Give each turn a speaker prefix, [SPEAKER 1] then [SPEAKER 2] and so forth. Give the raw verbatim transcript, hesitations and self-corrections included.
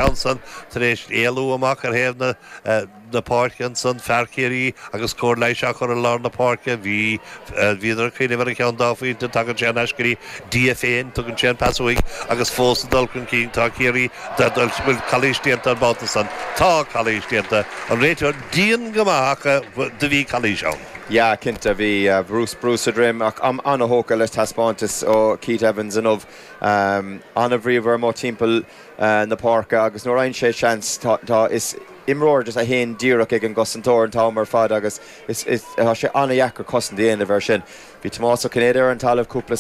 [SPEAKER 1] ceann san tar éis éalú amach ar thaobh na uh, na páirce ansan fear Chiarraí agus cóir leighis á chur i lár na páirce bhí bhíodar cuimh ar an ceann dá phointe tagann sé aiscirí Dia féin tugann sé an pas uaidh agus fós dul chun cinn tá Ciarraí bhfuil calaois déanta an babhta san tá calaois déanta an réiteoir dian go maith do bhí calaois ann.
[SPEAKER 2] Ja cinnte bhí uh, Bruce Bruce a dream ach am an-tógtha le taispeántas ó Keith Evans inniu um, an-bhríomhar mo timpeall uh, na páirce agus nuair a fhaigheann sé seans tá is imreoir just a haon díreach ag an gcosantóir an t-am ar fad agus is, is, tá sé an-deacair cosaint a dhéanamh air sin. Bhí Tomás Ó Cinnéide ar an talamh cúpla